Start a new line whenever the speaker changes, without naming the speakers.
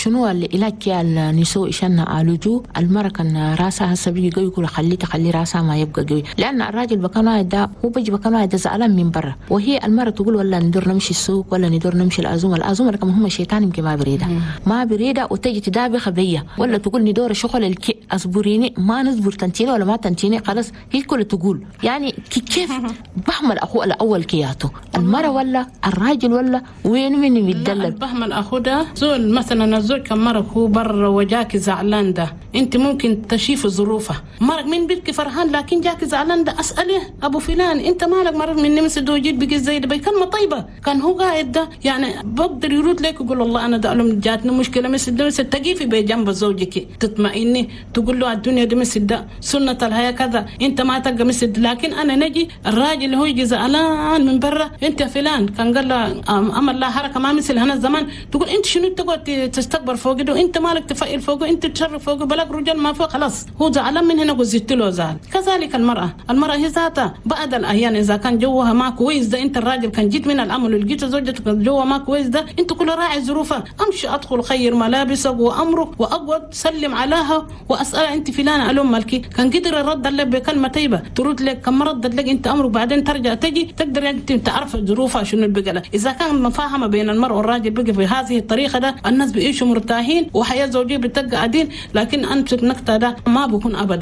شنو العلاج كي النسوء عشان نعالجو المرة؟ كان راسها هسه بيجي قوي كل خليه تخلي راسها ما يبقى قوي، لان الراجل بكان واحد ده هو بيجي بكان واحد ده زعلان من برا، وهي المرة تقول ولا ندور نمشي السوق ولا ندور نمشي العزومه، العزومه كمان هم شيطان يمكن ما بريده ما بريده، وتجي تدابخ بيا ولا تقول ندور شغل الكي اصبريني ما نصبر تنتيني ولا ما تنتيني، خلاص هي كل تقول يعني كيف بحمل اخوه الاول كياتو المرة ولا الراجل ولا وين من يتدلل
بحمل اخوه ده زول. مثلا الزوج كان مرق هو برا وجاك زعلان ده، انت ممكن تشيف ظروفه، مرق من بيتك فرحان لكن جاك زعلان ده، اساله ابو فلان انت مالك مرق من نمس دو جيت بقي زي ده بكلمه طيبه، كان هو قاعد ده يعني بقدر يرد لك يقول والله انا ده لهم جاتني مشكله مثل ده مثل، تقيفي بجنب زوجك تطمئني تقول له الدنيا دي مثل ده سنه الحياه كذا، انت ما تلقى مثل. لكن انا نجي الراجل اللي هو يجي زعلان من برا، انت فلان كان قال له امر لا حركه ما مثل هنا الزمان، تقول انت شنو تقعد تستكبر فوق ده، انت مالك تفقل فوقه، انت تشرف فوقه، بلاك رجال ما فوق، خلاص هو زعلان من هنا وزدت له زعل. كذلك المرأة هي ذاتها بعد الأحيان إذا كان جوها ما كويس ده، أنت الراجل كان جيت من الأمل ولقيت زوجتك جوها ما كويس ده، أنت كل راعي ظروفها، أمشي أدخل خير ملابسك وأمرك وأقعد سلم عليها وأسألها أنت فلانة ألوم مالكي، كان قدر الرد لك بكلمة طيبة ترد لك، كان ما ردت لك أنت أمرك بعدين ترجع تجي تقدر أنت تعرف ظروفها شنو البقلة. إذا كان مفاهمة بين المرء والراجل بقى في هذه الطريقة ده الناس بيعيشوا مرتاحين وحياة زوجية بتبقى عديل، لكن أنت النقطة ده ما بكون أبدا.